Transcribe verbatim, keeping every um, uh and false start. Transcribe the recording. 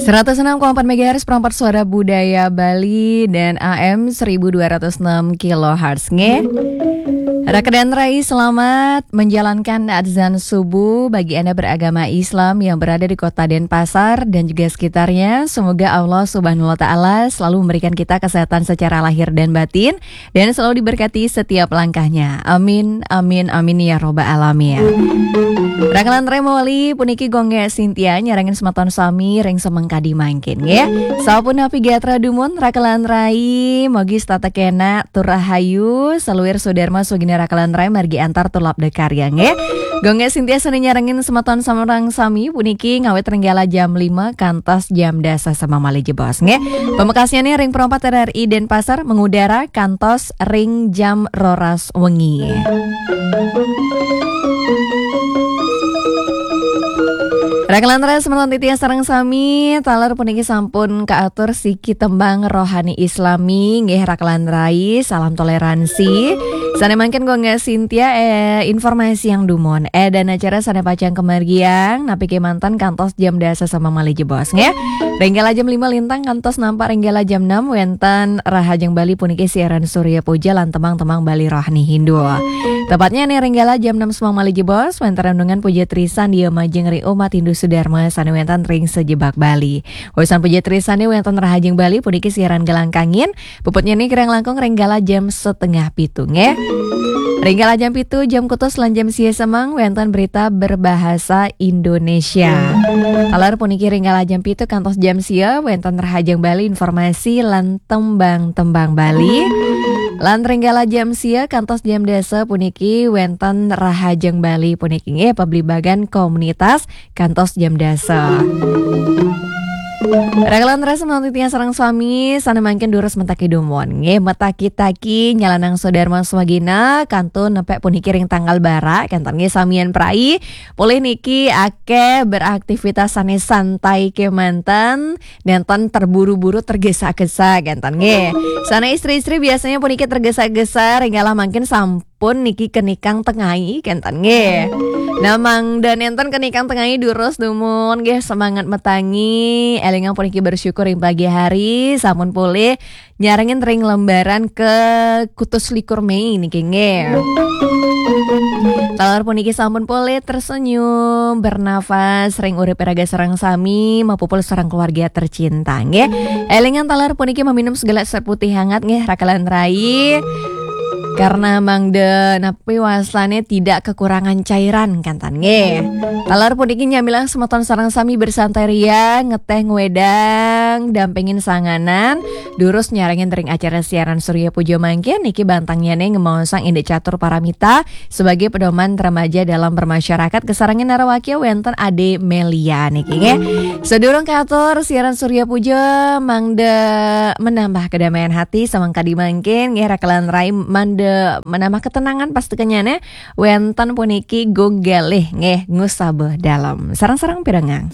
Seratus enam koma empat megahertz, perempat suara budaya Bali dan A M seribu dua ratus enam kilohertz nggih. Raka dan Rai, selamat menjalankan azan subuh bagi Anda beragama Islam yang berada di kota Denpasar dan juga sekitarnya. Semoga Allah Subhanahu wa Ta'ala selalu memberikan kita kesehatan secara lahir dan batin dan selalu diberkati setiap langkahnya. Amin, amin, amin ya robbal alamin. Raka lan Rai mawali puniki Gung Sintia nyarengin semeton sami ring semeng kadi mangkin nggih. Sapunapi gatra dumun Raka lan Rai, mugi setata kenak tur rahayu, saluir swadarma swagina Raka lan Rai margi antar tur labda karya nggih. Gung Sintia sane nyarengin semeton sareng sami puniki ngawit ring galah jam lima kantos jam dasa semeng malih jebos nggih. Pamekasnyane ring Pro empat R R I Denpasar mengudara kantos ring jam roras wengi. Raka lan Rai semeton titiang sareng sami, taler puniki sampun kaatur siki tembang rohani Islami nggih Raka lan Rai, salam toleransi. Sane mangkin Gung Sintia, eh, informasi yang dumun. Eh, dan acara sane pacang kamargiang napi kemanten kantos jam dasa semeng malih jebos nggih. Ring galah jam lima lintang kantos nampak ring galah jam enam wenten Rahajeng Bali puniki siaran Surya Puja lan tembang-tembang Bali rohani Hindu. Tepatnya nih ring galah jam enam semeng malih jebos wenten renungan puja trisandia majeng ring umat Hindu Sudarma sane wenten ring sajebag Bali. Wusan puja trisandia wenten Rahajeng Bali puniki siaran galah kangin, puputnya nih kirang langkung ring galah jam setengah pitu nggih. Ring galah jam pitu jam kutus lan jam sia semeng wenten berita berbahasa Indonesia. Taler puniki ring galah jam pitu kantos jam sia wenten Rahajeng Bali informasi lan tembang-tembang Bali. Lan ring galah jam sia kantos jam dasa puniki wenten Rahajeng Bali puniki nggih pabligbagan komunitas kantos jam dasa. Raka lan Rai semeton titiang sareng sami, sane mangkin durus metaki dumun nggih, metaki-taki nyalanang swadarma swagina kantun nepek puniki ring tanggal barak kenten nggih samian prai. Polih niki akeh beraktivitas sane santai kemanten, nenten terburu-buru tergesa-gesa kenten nggih. Sane istri-istri biasanya puniki tergesa-gesa ring galah mangkin sampun niki kenikang tengai kenten nggih. Nah, mangda nenten kenikang tengai durus dumun nggih semangat metangi, elingang puniki bersyukur ring pagi hari sampun polih nyarengin ring lembaran ke kutus likur Mei niki nggih. Taler puniki sampun polih tersenyum, bernafas ring urip raga sareng sami, mapupul sareng keluarga tercinta nggih. Elingang taler puniki maminum segelas air putih hangat nggih Raka lan Rai. Karena mangda napi wastane tidak kekurangan cairan kenten nggih. Taler puniki nyamilang semeton sareng sami bersantai ria, ngeteh ngwedang, dampingin sanganan, durus nyarengin ring acara siaran Surya Puja mangkin niki bantangnyané ngemaosang indik catur paramita sebagai pedoman remaja dalam bermasyarakat, kasarengin narawakia wénten Ade Melia niki nggih. Sedurung katur siaran Surya Puja, mangda menambah kedamaian hati samangkadi mangkin nggih, Raka lan Rai, mangda menambah ketenangan pastukenyané wénten puniki Gung Galih nggih, Ngusaba Dalem. Sareng-sareng pirengang.